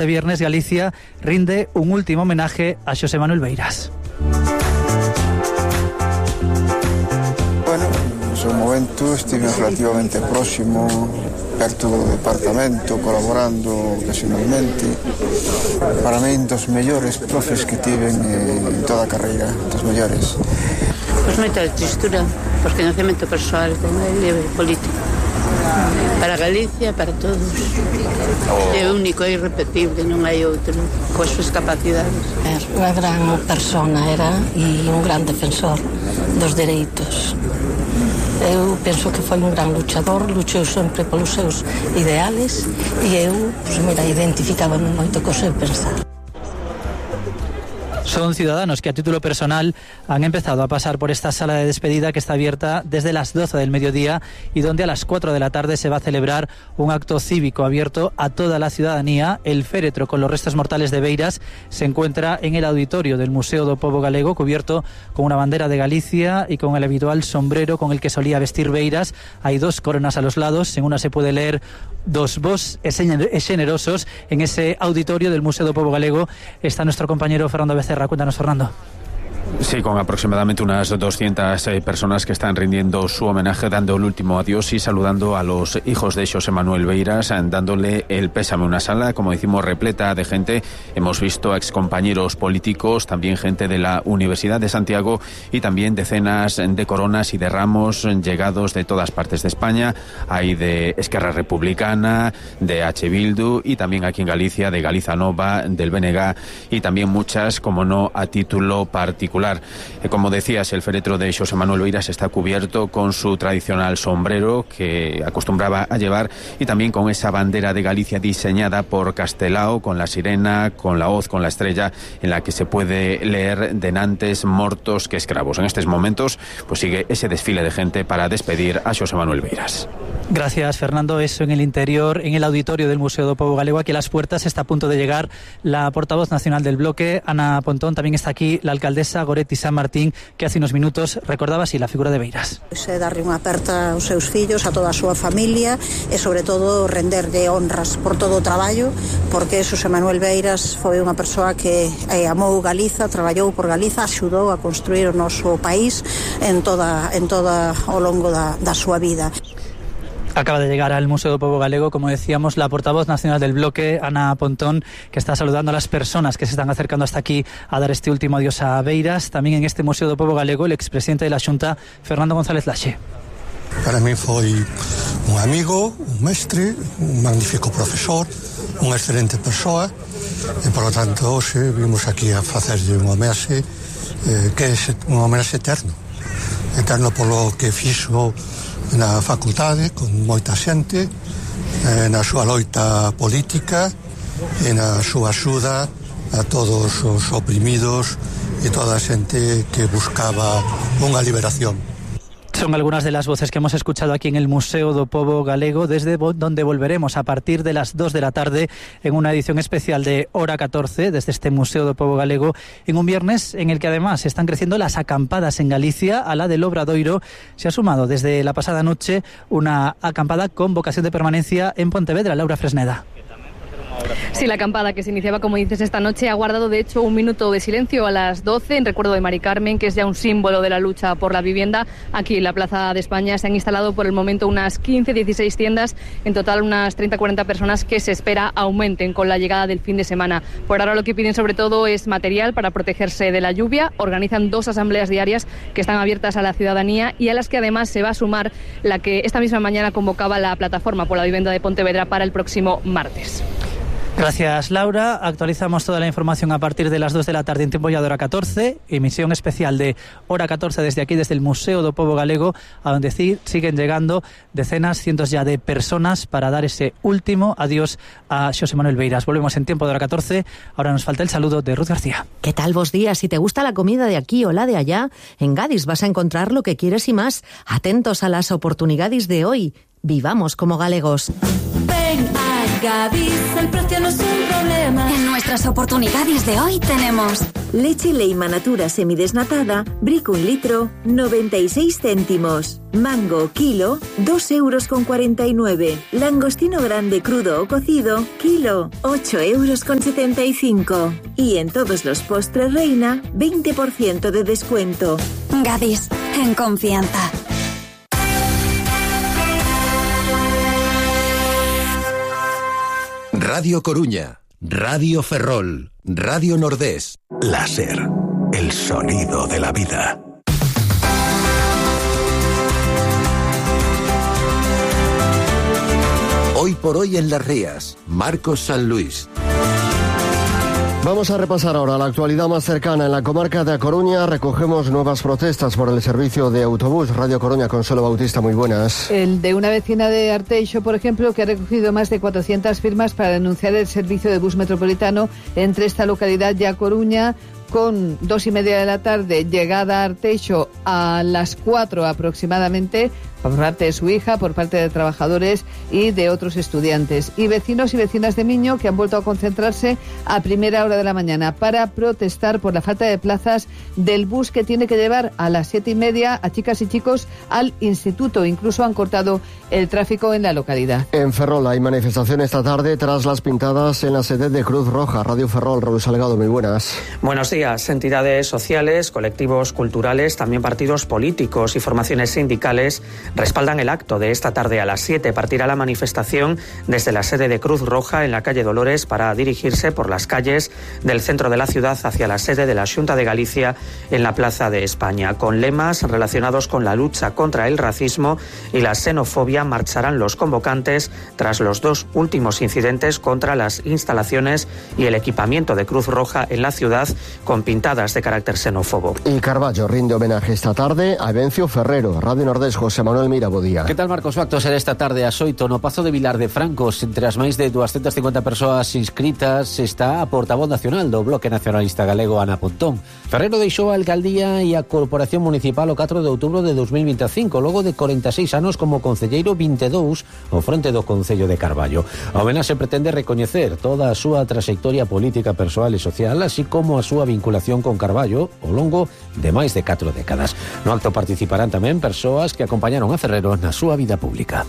Este viernes Galicia rinde un último homenaje a Xosé Manuel Beiras. Bueno, no seu momento estive relativamente próximo, perto do departamento, colaborando ocasionalmente. Para min, dos mellores profes que tiven en toda a carreira, dos mellores. Pois moita tristura, por conocemento persoal con ele político. Para Galicia, para todos. É único, é irrepetible, non hai outro coas súas capacidades. Unha gran persona era e un gran defensor dos dereitos. Eu penso que foi un gran luchador, luchou sempre polos seus ideales e eu, identificábame moito co seu pensar. Son ciudadanos que a título personal han empezado a pasar por esta sala de despedida que está abierta desde las 12 del mediodía y donde a las 4 de la tarde se va a celebrar un acto cívico abierto a toda la ciudadanía. El féretro con los restos mortales de Beiras se encuentra en el auditorio del Museo do Pobo Galego, cubierto con una bandera de Galicia y con el habitual sombrero con el que solía vestir Beiras. Hay dos coronas a los lados, en una se puede leer dos vos e generosos. En ese auditorio del Museo do Pobo Galego está nuestro compañero Fernando Becerra. Cuéntanos, Fernando. Sí, con aproximadamente unas 200 personas que están rindiendo su homenaje, dando el último adiós y saludando a los hijos de Xosé Manuel Beiras, dándole el pésame. Una sala, como decimos, repleta de gente. Hemos visto a excompañeros políticos, también gente de la Universidad de Santiago y también decenas de coronas y de ramos llegados de todas partes de España. Hay de Esquerra Republicana, de H. Bildu y también aquí en Galicia de Galiza Nova, del BNG y también muchas, como no, a título particular. Como decías, el féretro de Xosé Manuel Beiras está cubierto con su tradicional sombrero que acostumbraba a llevar y también con esa bandera de Galicia diseñada por Castelao, con la sirena, con la hoz, con la estrella, en la que se puede leer denantes mortos que escravos. En estos momentos pues sigue ese desfile de gente para despedir a Xosé Manuel Beiras. Gracias, Fernando. Eso en el interior, en el auditorio del Museo do Pobo Galego. Aquí a las puertas está a punto de llegar la portavoz nacional del bloque, Ana Pontón. También está aquí la alcaldesa Goretti San Martín, que hace unos minutos recordaba así la figura de Beiras. Darle unha aperta aos seus fillos, a toda a súa familia e, sobre todo, renderlle honras por todo o traballo, porque Xosé Manuel Beiras foi unha persoa que amou Galiza, traballou por Galiza, axudou a construir o noso país en toda ao longo da súa vida. Acaba de llegar al Museo do Pobo Galego, como decíamos, la portavoz nacional del bloque, Ana Pontón, que está saludando a las personas que se están acercando hasta aquí a dar este último adiós a Beiras. También en este Museo do Pobo Galego, el expresidente de la Xunta, Fernando González Laxe. Para mí foi un amigo, un mestre, un magnífico profesor, unha excelente persoa e, por lo tanto, hoxe vimos aquí a facerlle un homenaxe que é un homenaxe eterno polo que fixo na facultade con moita xente, na súa loita política e na súa axuda a todos os oprimidos e toda a xente que buscaba unha liberación. Son algunas de las voces que hemos escuchado aquí en el Museo do Pobo Galego, desde donde volveremos a partir de las 2 de la tarde en una edición especial de Hora 14, desde este Museo do Pobo Galego, en un viernes en el que además están creciendo las acampadas en Galicia. A la del Obradoiro se ha sumado desde la pasada noche una acampada con vocación de permanencia en Pontevedra. Laura Fresneda. Sí, la acampada que se iniciaba, como dices, esta noche ha guardado de hecho un minuto de silencio a las 12 en recuerdo de Mari Carmen, que es ya un símbolo de la lucha por la vivienda. Aquí en la Plaza de España se han instalado por el momento unas 15-16 tiendas, en total unas 30-40 personas que se espera aumenten con la llegada del fin de semana. Por ahora lo que piden sobre todo es material para protegerse de la lluvia. Organizan 2 asambleas diarias que están abiertas a la ciudadanía y a las que además se va a sumar la que esta misma mañana convocaba la Plataforma por la Vivienda de Pontevedra para el próximo martes. Gracias, Laura. Actualizamos toda la información a partir de las 2 de la tarde en tiempo ya de Hora 14, emisión especial de Hora 14 desde aquí, desde el Museo do Pobo Galego, a donde siguen llegando decenas, cientos ya de personas para dar ese último adiós a Xosé Manuel Beiras. Volvemos en tiempo de Hora 14. Ahora nos falta el saludo de Ruth García. ¿Qué tal, vos días? Si te gusta la comida de aquí o la de allá, en Gadis vas a encontrar lo que quieres y más. Atentos a las oportunidades de hoy. Vivamos como galegos. Ven a Gadis, el precio no es un problema. En nuestras oportunidades de hoy tenemos Leche Leima Natura semidesnatada, Brick 1 litro, 96 céntimos. Mango, kilo, 2,49 €. Langostino grande crudo o cocido, kilo, 8,75 €. Y en todos los postres Reina, 20% de descuento. Gadis, en confianza. Radio Coruña, Radio Ferrol, Radio Nordés. Láser, el sonido de la vida. Hoy por hoy en Las Rías, Marcos San Luis. Vamos a repasar ahora la actualidad más cercana. En la comarca de A Coruña recogemos nuevas protestas por el servicio de autobús. Radio Coruña, Consuelo Bautista, muy buenas. El de una vecina de Arteixo, por ejemplo, que ha recogido más de 400 firmas para denunciar el servicio de bus metropolitano entre esta localidad y A Coruña, con 2:30 de la tarde, llegada a Arteixo a las 4 aproximadamente, por parte de su hija, por parte de trabajadores y de otros estudiantes. Y vecinos y vecinas de Miño que han vuelto a concentrarse a primera hora de la mañana para protestar por la falta de plazas del bus que tiene que llevar a las 7:30 a chicas y chicos al instituto. Incluso han cortado el tráfico en la localidad. En Ferrol hay manifestación esta tarde tras las pintadas en la sede de Cruz Roja. Radio Ferrol, Raúl Salgado, muy buenas. Buenos días. Entidades sociales, colectivos culturales, también partidos políticos y formaciones sindicales respaldan el acto de esta tarde a las 7. Partirá la manifestación desde la sede de Cruz Roja en la calle Dolores para dirigirse por las calles del centro de la ciudad hacia la sede de la Xunta de Galicia en la Plaza de España. Con lemas relacionados con la lucha contra el racismo y la xenofobia marcharán los convocantes tras los 2 últimos incidentes contra las instalaciones y el equipamiento de Cruz Roja en la ciudad con pintadas de carácter xenófobo. Y Carballo rinde homenaje esta tarde a Evencio Ferrero. Radio Nordés, José Manuel Mira, bo día. Que tal, Marcos? O acto será esta tarde a Xoito, no Pazo de Vilar de Francos. Entre as máis de 250 persoas inscritas está a portavoz nacional do Bloque Nacionalista Galego, Ana Pontón. Ferrero deixou a alcaldía e a Corporación Municipal o 4 de outubro de 2025, logo de 46 anos como concelleiro, 22 ao fronte do Concello de Carballo. A homenaxe pretende recoñecer toda a súa traxectoria política, persoal e social, así como a súa vinculación con Carballo ao longo de máis de 4 décadas. No acto participarán tamén persoas que acompañaron a Ferrero na súa vida pública.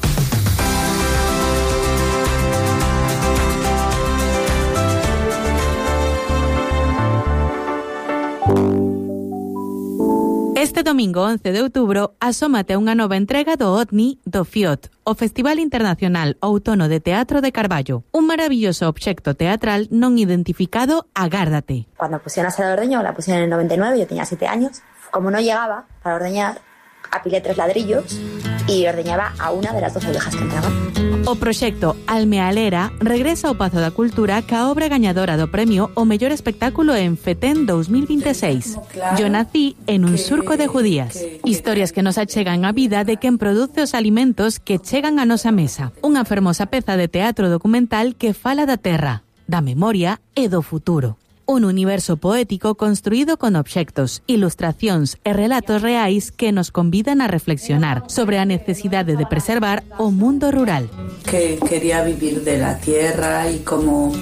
Este domingo 11 de outubro asómate unha nova entrega do OTNI do FIOT, o Festival Internacional Outono de Teatro de Carballo. Un maravilloso obxecto teatral non identificado, agárdate. Cuando pusieron a Sala de Ordeño, la pusieron en el 99, yo tenía 7 años. Como no llegaba para ordeñar, apilé 3 ladrillos y ordeñaba a una de las 12 ovejas que entraban. O proxecto Almealera regresa ao Pazo da Cultura ca obra gañadora do premio o mellor espectáculo en Fetén 2026. Yo nací en un surco de judías. Historias que nos achegan a vida de quen produce os alimentos que chegan a nosa mesa. Unha fermosa peza de teatro documental que fala da terra, da memoria e do futuro. Un universo poético construído con obxectos, ilustracións e relatos reais que nos convidan a reflexionar sobre a necesidade de preservar o mundo rural. Que quería vivir de la tierra y cómo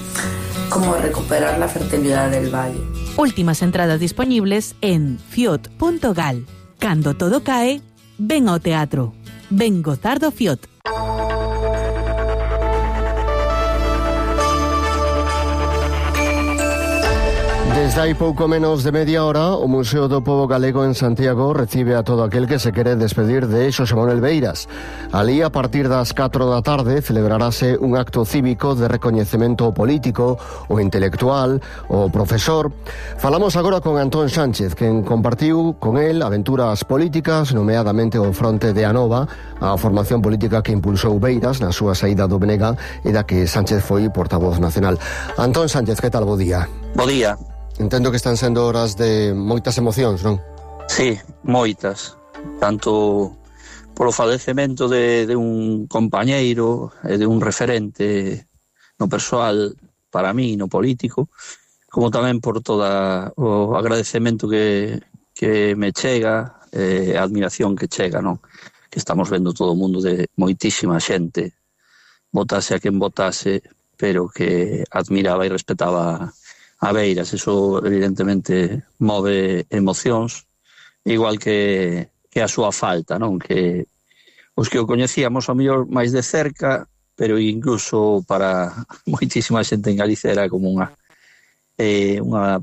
recuperar la fertilidad del valle. Últimas entradas disponibles en fiot.gal. Cando todo cae, ven ao teatro. Ven gozar do Fiot. Desde hai pouco menos de media hora, o Museo do Pobo Galego en Santiago recibe a todo aquel que se quere despedir de Xosé Manuel Beiras. Alí, a partir das 4 da tarde, celebrarase un acto cívico de recoñecemento político, o intelectual, o profesor. Falamos agora con Antón Sánchez, quen compartiu con el aventuras políticas, nomeadamente o fronte de Anova, a formación política que impulsou Beiras na súa saída do Benega e da que Sánchez foi portavoz nacional. Antón Sánchez, que tal? Bo día. Bo día. Entendo que están sendo horas de moitas emocións, non? Sí, moitas. Tanto polo falecemento de un compañeiro e de un referente no persoal para mí, no político, como tamén por toda o agradecemento que me chega, a admiración que chega, non? Que estamos vendo todo o mundo de moitísima xente, votase a quen votase, pero que admiraba e respetaba a Beiras. Eso evidentemente move emocións, igual que a súa falta, non? Que os que o coñecíamos ao mellor máis de cerca, pero incluso para moitísima xente en Galicia era como unha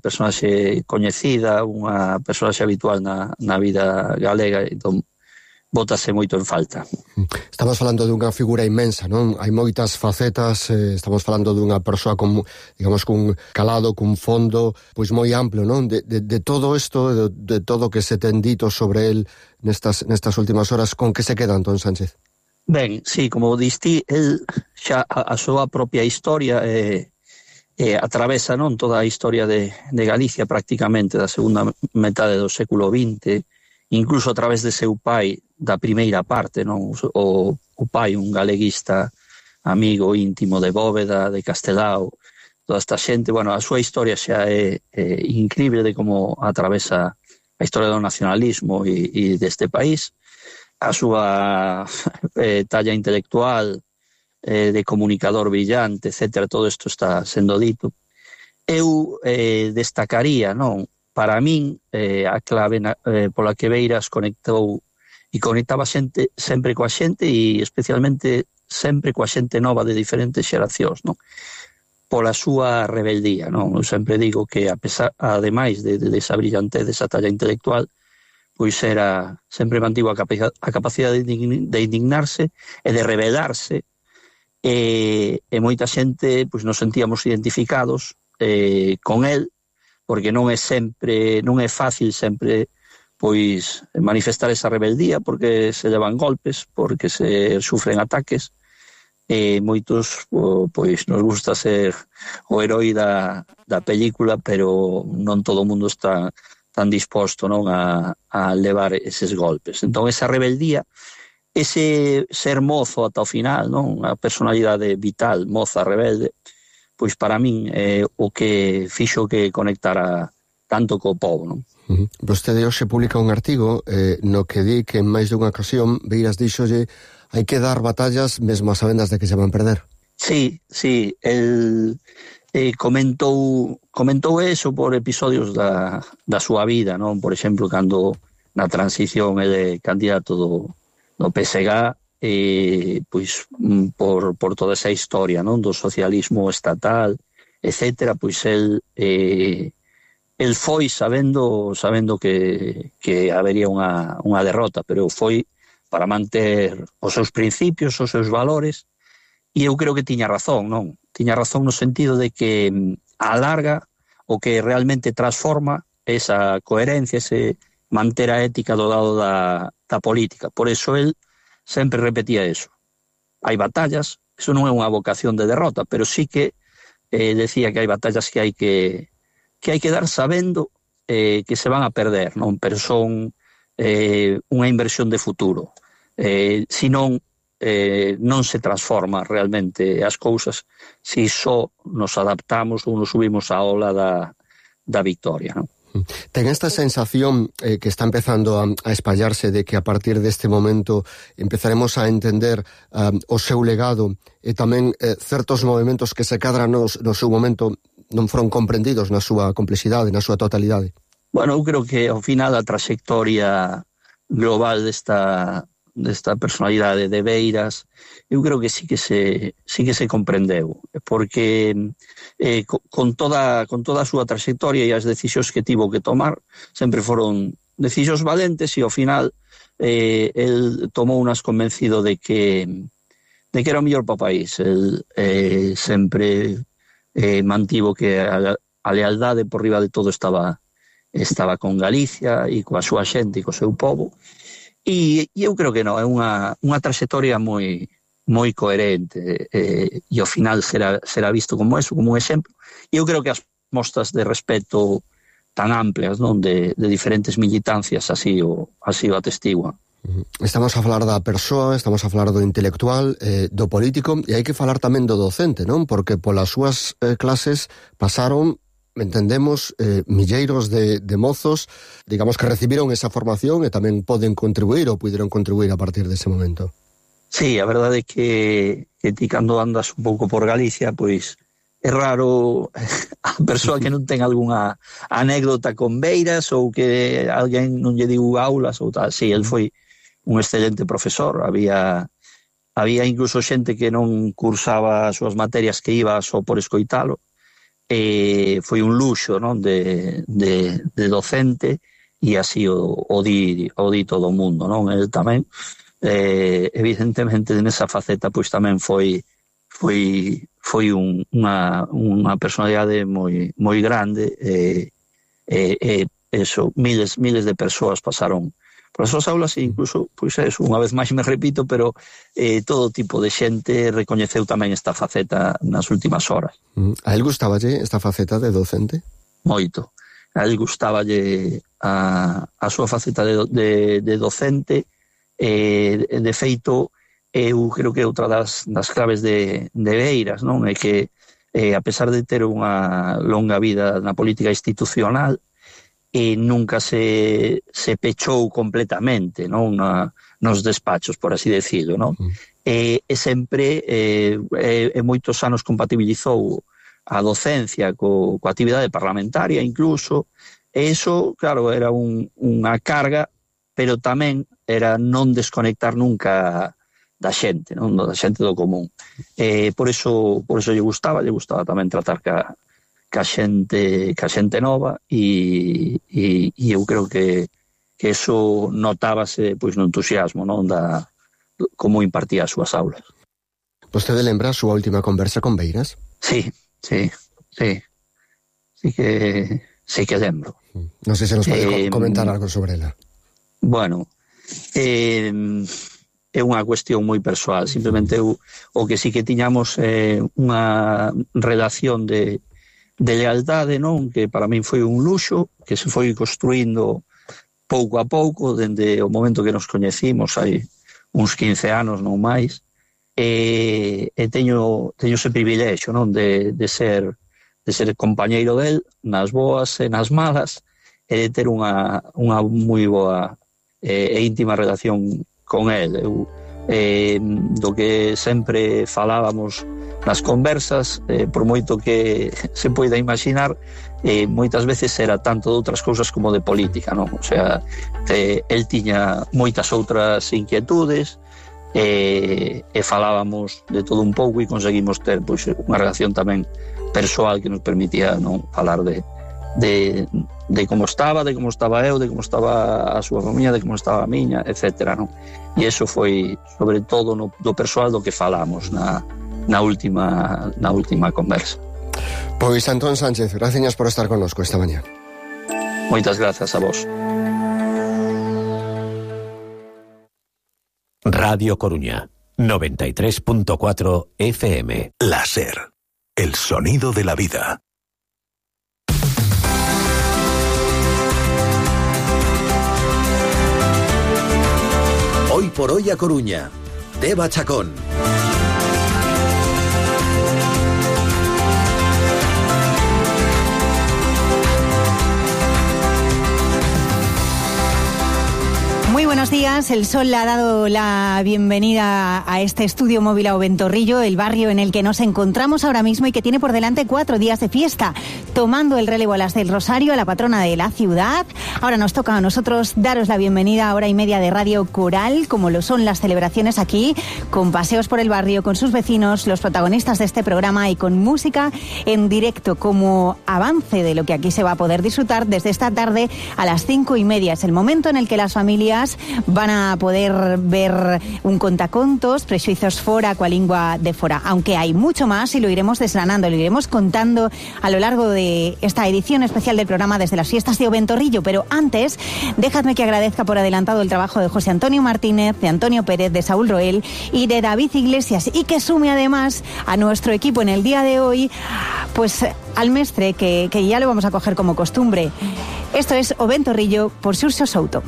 personaxe coñecida, unha personaxe habitual na vida galega, entón bótase moito en falta. Estamos falando dunha figura inmensa, non? Hai moitas facetas, estamos falando dunha persoa con, digamos, cun calado, cun fondo, pois moi amplo, non? De todo isto, de todo que se ten dito sobre el nestas últimas horas, con que se queda Antón Sánchez? Ben, sí, como diste, el xa a súa propia historia atravesa, non, toda a historia de Galicia prácticamente da segunda metade do século XX, incluso a través de seu pai da primeira parte, non? O pai, un galeguista amigo íntimo de Bóveda, de Castelao, toda esta xente. Bueno, a súa historia xa é incrível de como atravesa a historia do nacionalismo e deste país, a súa talla intelectual, de comunicador brillante, etcétera, todo isto está sendo dito. Eu destacaría, non, para min, a clave pola que Beiras conectou e conectaba xente sempre coa xente e especialmente sempre coa xente nova de diferentes xeracións, non? Pola súa rebeldía, non? Eu sempre digo que ademais de esa brillantez, desa talla intelectual, pois sempre mantivo a capacidade de indignarse e de rebelarse, e moita xente pois nos sentíamos identificados con el, porque non é fácil sempre pois manifestar esa rebeldía, porque se levan golpes, porque se sufren ataques, e moitos pois nos gusta ser o heroi da película, pero non todo o mundo está tan disposto, non, a levar eses golpes. Entón esa rebeldía, ese ser mozo ata o final, non, a personalidade vital, moza, rebelde, pois para min é o que fixo que conectara tanto co povo, non? Vostede hoxe publica un artigo no que di que en máis dunha ocasión Beiras díxolle hai que dar batallas mesmo a sabendas de que se van perder. Sí, el comentou eso por episodios da súa vida, non? Por exemplo, cando na transición ele candidato do PSG, pois por toda esa historia, non, do socialismo estatal, etcétera, pois el foi sabendo que habería unha derrota, pero foi para manter os seus principios, os seus valores, e eu creo que tiña razón, non? Tiña razón no sentido de que a larga o que realmente transforma esa coherencia, ese manter a ética do lado da política. Por eso el sempre repetía eso. Hai batallas, eso non é unha vocación de derrota, pero sí que decía que hai batallas que hai que dar sabendo que se van a perder, non? Pero son unha inversión de futuro. Senón non se transforma realmente as cousas se só nos adaptamos ou nos subimos á ola da victoria, non? Ten esta sensación que está empezando a espallarse de que a partir deste momento empezaremos a entender o seu legado e tamén certos movimentos que se cadran no seu momento non foron comprendidos na súa complexidade, na súa totalidade? Bueno, eu creo que ao final a trayectoria global desta personalidade de Beiras, eu creo que sí que se comprendeu, porque con toda a súa trayectoria e as decisións que tivo que tomar sempre foron decisións valentes, e ao final el tomou unas convencido de que era o mellor para o país. El sempre mantivo que a lealdade por riba de todo estaba con Galicia e coa súa xente e co seu povo. E eu creo que non, é unha trayectoria moi coherente, e ao final será visto como eso, como un exemplo. E eu creo que as mostras de respeto tan amplias, non, de diferentes militancias así o atestiguan. Estamos a falar da persoa, estamos a falar do intelectual, do político, e hai que falar tamén do docente, non? Porque polas súas clases pasaron, entendemos, milleiros de mozos, digamos, que recibiron esa formación e tamén poden contribuir ou puderon contribuir a partir dese momento. Sí, a verdade é que ti cando andas un pouco por Galicia, pois é raro persoa que non ten algunha anécdota con Beiras ou que alguén non lle diu aulas ou tal. Sí, el foi un excelente profesor. Había incluso xente que non cursaba as súas materias, que iba só por escoitalo. Foi un luxo, non, de docente, e así o di todo o mundo, non? El tamén, evidentemente, nesa faceta, pois tamén foi unha personalidade moi grande, eso, miles de persoas pasaron por as súas aulas, e incluso, pois eso, unha vez máis me repito, pero todo tipo de xente recoñeceu tamén esta faceta nas últimas horas. A él gustáballe esta faceta de docente? Moito. A él gustáballe a súa faceta de docente. De feito, eu creo que outra das claves de Beiras, non, é que a pesar de ter unha longa vida na política institucional, nunca se pechou completamente, non, nos despachos, por así decirlo, non? E sempre moitos anos compatibilizou a docencia coa actividade parlamentaria incluso, e iso, claro, era unha carga, pero tamén era non desconectar nunca da xente, non, da xente do común. Por eso lle gustaba tamén tratar ca xente nova, e eu creo que eso notábase, pois, no entusiasmo, non, da como impartía as súas aulas. Vostede lembra a súa última conversa con Beiras? Sí que lembro. Non sei se nos pode comentar algo sobre ela. Bueno, é unha cuestión moi persoal. Simplemente o que sí que tiñamos unha relación de lealdade, non, que para min foi un luxo, que se foi construindo pouco a pouco dende o momento que nos coñecimos hai uns 15 anos, non máis, e teño ese privilexio, non, de ser compañeiro del nas boas e nas malas, e de ter unha moi boa e íntima relación con el. Do que sempre falábamos nas conversas, por moito que se poida imaginar, moitas veces era tanto de outras cousas como de política, non? O sea, el tiña moitas outras inquietudes, e falábamos de todo un pouco, e conseguimos ter, pois, unha relación tamén persoal que nos permitía, non, falar de como estaba eu, de como estaba a súa familia, de como estaba a miña, etcétera, non? E iso foi, sobre todo, do persoal do que falamos na última conversa. Pois, Antón Sánchez, gracias por estar connosco esta mañá. Moitas grazas a vos. Radio Coruña, 93.4 FM. La SER, el sonido de la vida. Hoy por hoy a Coruña, Deva Chacón. Muy buenos días. El sol le ha dado la bienvenida a este estudio móvil a Oventorrillo, el barrio en el que nos encontramos ahora mismo y que tiene por delante 4 días de fiesta, tomando el relevo a las del Rosario, a la patrona de la ciudad. Ahora nos toca a nosotros daros la bienvenida a hora y media de radio coral, como lo son las celebraciones aquí, con paseos por el barrio, con sus vecinos, los protagonistas de este programa, y con música en directo como avance de lo que aquí se va a poder disfrutar desde esta tarde a las 5:30. Es el momento en el que las familias van a poder ver un contacontos, Prexuizos fora, coa lingua de fora, aunque hay mucho más y lo iremos desgranando, lo iremos contando a lo largo de esta edición especial del programa desde las fiestas de Oventorrillo. Pero antes, dejadme que agradezca por adelantado el trabajo de José Antonio Martínez, de Antonio Pérez, de Saúl Roel y de David Iglesias, y que sume además a nuestro equipo en el día de hoy, pues al mestre, que ya lo vamos a coger como costumbre. Esto es Oventorrillo por Xurxo Souto.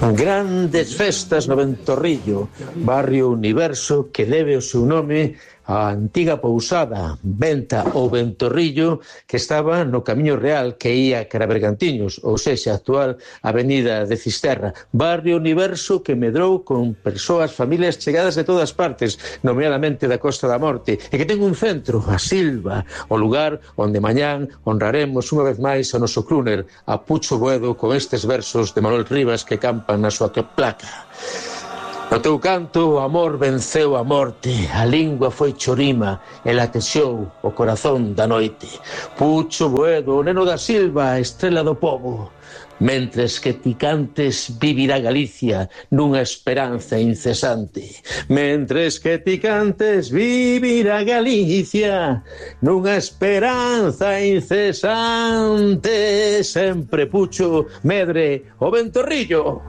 Grandes festas no Ventorrillo, barrio universo que debe o seu nome a antiga pousada Venta ou Ventorrillo, que estaba no Camiño Real que ía cara a Bergantiños, ou sexa, actual Avenida de Cisterra, barrio universo que medrou con persoas, familias chegadas de todas partes, nomeadamente da Costa da Morte, e que ten un centro, a Silva, o lugar onde mañán honraremos unha vez máis a noso crooner, a Pucho Boedo, con estes versos de Manuel Rivas que campan na súa placa. No teu canto o amor venceu a morte, a lingua foi chorima e latexou o corazón da noite. Pucho Boedo, o neno da Silva, a estrela do pobo. Mentres que ti cantes vivirá Galicia nunha esperanza incesante. Mentres que ti cantes vivirá Galicia nunha esperanza incesante. Sempre Pucho medre o Ventorrillo.